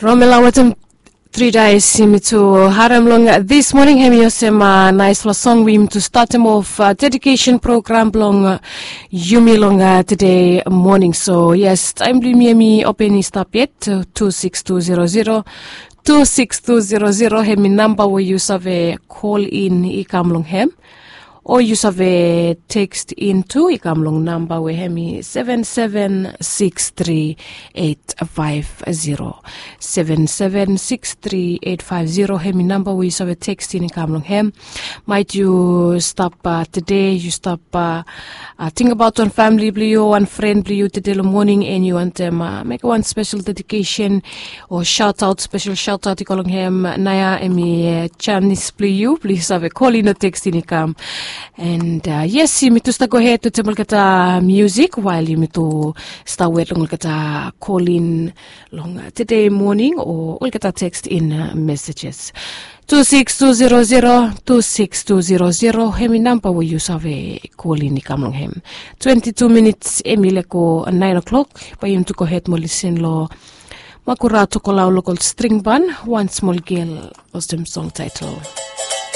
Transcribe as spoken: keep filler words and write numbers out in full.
Romela wetem Tri Dais, yumi tu harem long this morning, hem i olsem naispela song we yumi tu statem of dedication program blong yumi long today morning. So yes, taem blong yumi hem i open i stap yet, two six two zero zero, two six two zero zero hem i namba we yu save call in i kam long hem, o yu save text in tu i kam long namba we hem i seven seven six three eight five zero. Seven seven six three eight five zero hem i namba we yu save text in i kam long hem. Maet yu stap tede, yu stap tingbaot wan famili blong yu, wan fren blong yu tede long moning, and yu wantem mekem wan spesel dedication o shaotaot, spesel shaotaot i go long hem, naoia hem i janis blong yu blong yu save kolin o tekstin i kam. And yes, yumi tu stap gohed wetem olgeta musik wael yumi tu stap wet long olgeta kolin long tede moning o olgeta tekstin mesejes. Two six two zero zero, two six two zero zero hem i namba we yu save kolin i kam long hem. Twenti tu minits hem i lego naen o'klok. Bae yumi tu gohed mo lisin long Makura Tokolau Lokol String Ban, Wan Smol Gel, olsem song taetel.